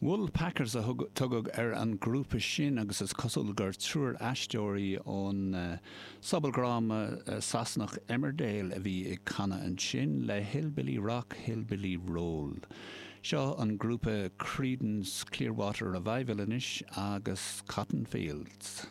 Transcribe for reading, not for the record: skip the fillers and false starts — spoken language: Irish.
Woolpackers a tugadh ar an ghrúpa sin agus is cosúil gur triúr aisteoirí ón sobaldráma Sasanach Emmerdale a bhí ag canadh ansin le Hillbilly Rock, Hillbilly Roll. Seo an grúpa Creedence Clearwater Revival anois agus Cotton Fields.